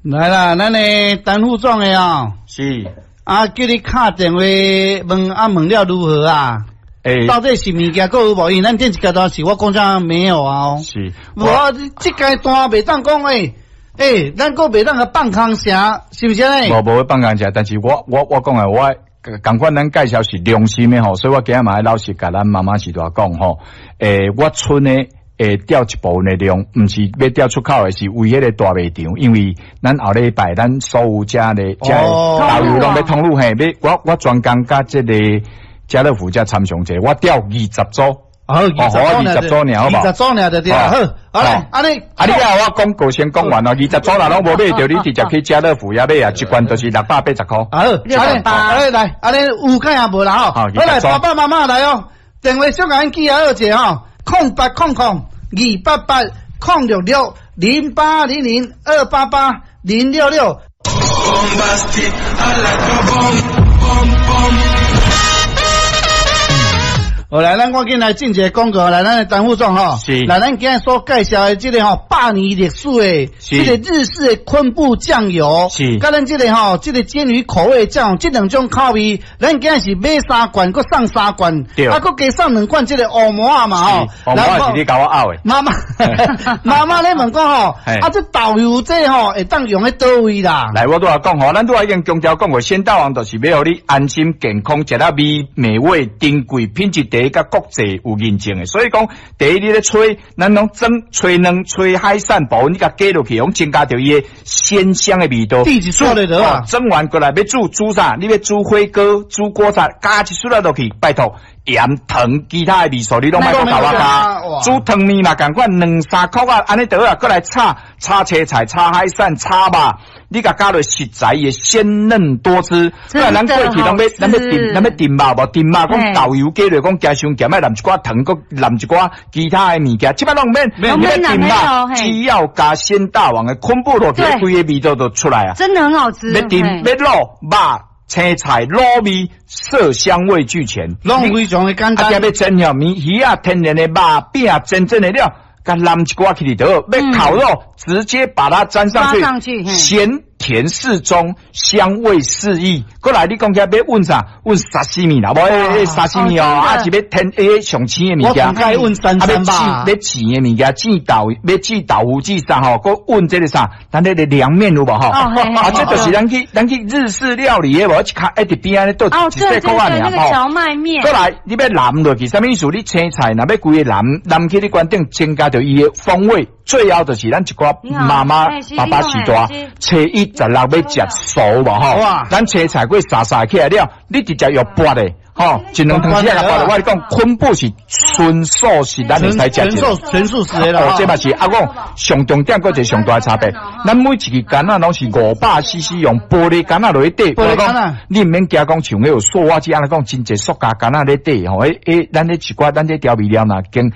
來啦，咱的陳副總的哦，是。啊，叫你敲電話問啊，問了如何啊？欸，到底是物件閣有無？因為咱頂一階段是我講啥沒有啊？是，無這階段袂當講欸欸，咱閣袂當共放空聲，是毋是按呢？無無放空聲，但是我講的我仝款咱介紹是良心的吼，所以我今日嘛愛老實共咱媽媽時代講吼，欸，我賰的會調一部分的量，毋是欲調出口的，是為彼个大賣場，因為咱後禮拜咱所有遮的遮的導遊攏欲通路嘿，欲我專工佮這个家樂福遮參詳者，我調20組。好，二十組爾，好無？20組爾就對啦。好，好來，按呢，啊，你啊，我廣告先講完咯。20組若攏無買著，你直接去家樂福遐買啊，一罐就是680箍。好，按呢，按呢來，按呢有看也無啦吼。好來，爸爸媽媽來哦，電話小共阮記下好者吼，08000288,0660800288066。 Bombastic, I like a bomb, bomb, bomb. 好來，咱趕緊來進一个廣告，來，咱的陳副總吼，是來，咱今日所介紹的這个吼百年歷史的，這个日式的昆布醬油，佮咱這个吼，這个鰹魚口味醬，這兩種口味，咱今日是買三罐，閣送三罐，啊，閣加送兩罐這个烏饃仔嘛吼，烏饃仔是你共我拗的。媽媽，媽媽咧問講吼，啊，這豆油這吼會當用佇佗位啦？來，我拄仔講吼，咱拄仔已經強調講過，鮮大王就是欲予你安心健康，食得味美味、珍貴品質第一，佮國際有認證的。所以講，第一你咧炊，咱攏蒸、炊卵、炊海產部分，你共加落去，攏增加著伊的鮮香的味道。第一做的啊，蒸完過來欲煮煮啥？你欲煮火鍋、煮鍋仔，加一撮仔落去，拜託。鹽糖其他的味素你攏莫閣共我加，煮湯麵嘛仝款兩三箍仔，按呢就好啊，閣來炒炒青菜、炒海產、炒肉，你共加落食材會鮮嫩多汁。不然咱過去攏欲咱欲燉咱欲燉肉無燉肉，講豆油加落，講驚傷鹹，愛淋一寡糖，閣淋一寡其他的物件。這擺攏免，你欲燉肉，只要加鮮大王的昆布落去，規个味道就出來啊！真的很好吃。欲燉欲滷肉。青菜滷味色香味俱全，攏非常的簡單。啊，欲煎遐麵魚仔天然的肉餅煎煎的了，共淋一寡去就好。欲烤肉，直接把它沾上去，鹹甜適中，香味四溢。過來你講起來欲問啥？問沙西米啦，無欸沙西米哦，啊是欲添欸上青的物件，我愛問三餐吧。欲煎的物件，煎豆，欲煮豆腐煮啥吼？閣問這个啥？咱那个涼麵有無吼？啊，這就是咱去日式料理的無？一卡一佇邊仔咧倒一細箍仔爾吼。蕎麥麵。過來，你欲淋落去，啥物意思？你青菜若欲規个淋淋去你關頂，增加著伊的風味。最後就是咱一寡媽媽爸爸時代，初一十六欲食素無吼？咱青菜過沙沙起來了，你直接用撥的，吼，一兩湯匙仔撥的。我共你講，昆布是純素食，咱會使食。純素純素食的啦。哦，這嘛是啊，講上重點，閣一个上大差別。咱每一支矸仔攏是500 cc 用玻璃矸仔落去綴。玻璃矸仔，你毋免驚講像彼有塑化劑按呢講，真濟塑膠矸仔咧綴吼。彼彼咱咧一寡咱這調味料若經。